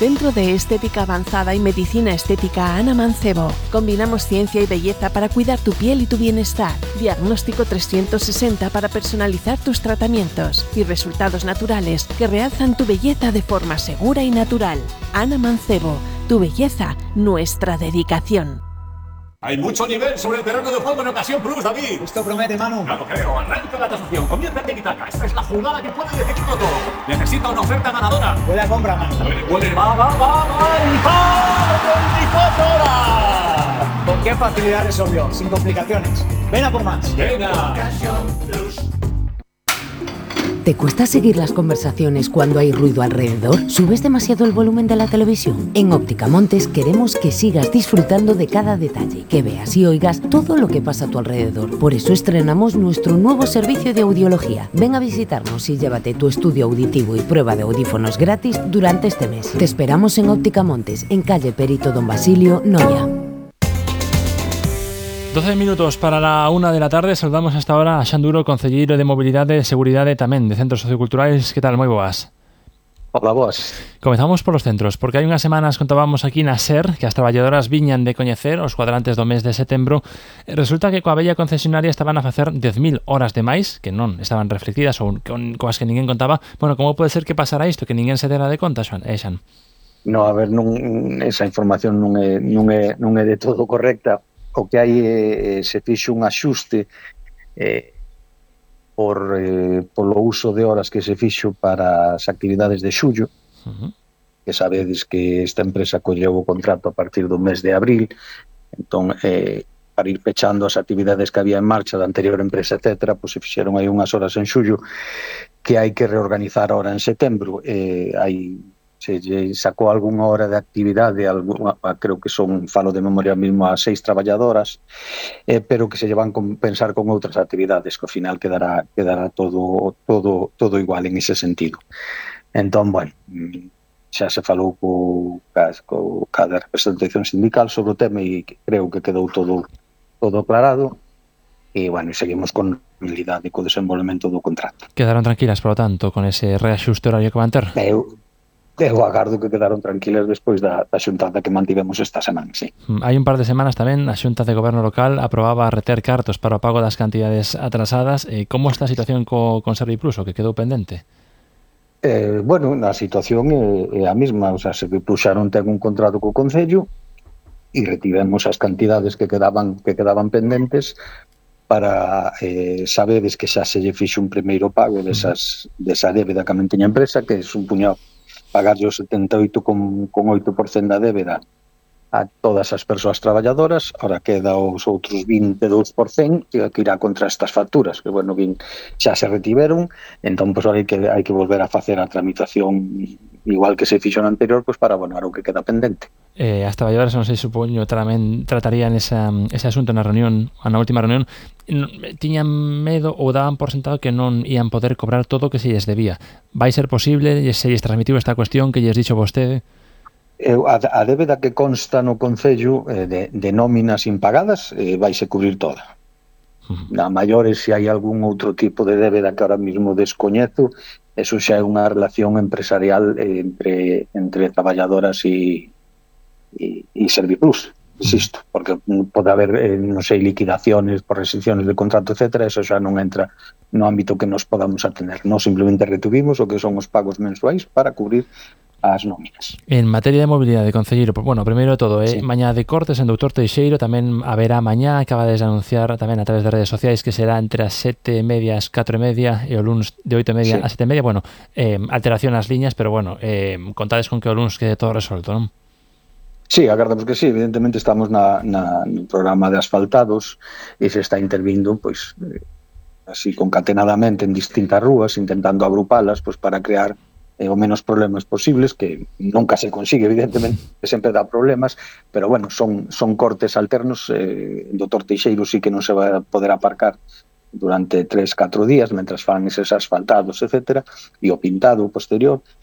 Centro de Estética Avanzada y Medicina Estética Ana Mancebo. Combinamos ciencia y belleza para cuidar tu piel y tu bienestar. Diagnóstico 360 para personalizar tus tratamientos y resultados naturales que realzan tu belleza de forma segura y natural. Ana Mancebo, tu belleza, nuestra dedicación. Hay mucho nivel sobre el terreno de juego en Ocasión Plus, David. Esto promete, Manu. No lo creo. Arranca la tasación. Comienza el tiki-taka. Esta es la jugada que puede decidirlo todo. Necesita una oferta ganadora. Huele a compra, Manu. Huele. Va. ¡Y 24 horas! ¿Con qué facilidad resolvió? Sin complicaciones. Ven a por más. Venga. Ocasión Plus. ¿Te cuesta seguir las conversaciones cuando hay ruido alrededor? ¿Subes demasiado el volumen de la televisión? En Óptica Montes queremos que sigas disfrutando de cada detalle, que veas y oigas todo lo que pasa a tu alrededor. Por eso estrenamos nuestro nuevo servicio de audiología. Ven a visitarnos y llévate tu estudio auditivo y prueba de audífonos gratis durante este mes. Te esperamos en Óptica Montes, en calle Perito Don Basilio, Noia. 12 minutos para la 1 de la tarde. Saludamos hasta ahora a Xanduro, concelleiro de Mobilidade e Seguridade tamén de Centros Socioculturais. Que tal? Moi boas. Hola, boas. Comezamos polos centros, porque hai unhas semanas contábamos aquí na SER que as traballadoras viñan de coñecer os cuadrantes do mes de setembro. Resulta que coa bella concesionaria estaban a facer 10.000 horas de máis, que non estaban reflectidas ou coas que ninguén contaba. Bueno, como pode ser que pasara isto, que ninguén se dera de conta, Xan? No, a ver, esa información non é de todo correcta. O que hai se fixo un axuste polo uso de horas que se fixo para as actividades de xullo, que sabedes que esta empresa colleu o contrato a partir do mes de abril, entón, para ir pechando as actividades que había en marcha da anterior empresa, etc., pois se fixeron aí unhas horas en xullo que hai que reorganizar ahora en setembro. Se sacou algunha hora de actividade, creo que falo de memoria mesmo, a 6 traballadoras, pero que se llevan a compensar con outras actividades, que ao final quedará todo igual en ese sentido. Entón, bueno, xa se falou cada representación sindical sobre o tema e creo que quedou todo aclarado, e, bueno, seguimos con normalidade co desenvolvemento do contrato. Quedaron tranquilas, por lo tanto, con ese reaxuste horario que van ter? Eu agardo que quedaron tranquilas despois da xuntada que mantivemos esta semana, sí. Hai un par de semanas tamén a Xunta de Goberno Local aprobaba reter cartos para o pago das cantidades atrasadas. Como está a situación con Serviplus, o que quedou pendente? Bueno, a situación é a mesma, o sea, Serviplus xa non ten un contrato co Concello e retivemos as cantidades que quedaban pendentes para sabedes que xa se lle fixo un primeiro pago desa débeda que a men teña empresa, que é un puñado pagar o 78,8% da débeda a todas as persoas traballadoras. Ahora queda os outros 22% que irá contra estas facturas, que, bueno, xa se retiveron, entón, pois, hai que volver a facer a tramitación igual que se fixo no anterior, pois, para abonar o que queda pendente. As traballadoras, non sei, supoño, tamén tratarían ese asunto na última reunión. Tiñan medo ou daban por sentado que non ían poder cobrar todo o que se lles debía. Vai ser posible? Se lles transmitiu esta cuestión que lles dixo vostede? A débeda que consta no Concello de nóminas impagadas vaise cubrir toda. A maiores, se hai algún outro tipo de débeda que ahora mismo descoñezo, eso xa é unha relación empresarial entre traballadoras e Serviplus, insisto, porque pode haber, non sei, liquidaciones por restricciones de contrato, etc., eso xa non entra no ámbito que nos podamos atender. Nos simplemente retuvimos o que son os pagos mensuais para cubrir as nóminas. En materia de mobilidade, concelleiro, bueno, primeiro de todo, sí. Mañá de cortes en Doutor Teixeiro, tamén haberá mañá, acaba de anunciar tamén a través de redes sociais que será entre as 7:30 e as 4:30 e o luns de 8:30 a 7:30, bueno, alteración nas liñas, pero bueno, contades con que o luns quede todo resolto, non? Sí, agardamos que sí, evidentemente estamos no programa de asfaltados e se está intervindo, pois, así concatenadamente en distintas rúas, intentando agrupalas, pois, para crear o menos problemas posibles, que nunca se consigue, evidentemente, que sempre dá problemas, pero, bueno, son cortes alternos. En Doutor Teixeiro sí que non se vai a poder aparcar durante 3-4 días, mentras fan eses asfaltados, etc., e o pintado posterior.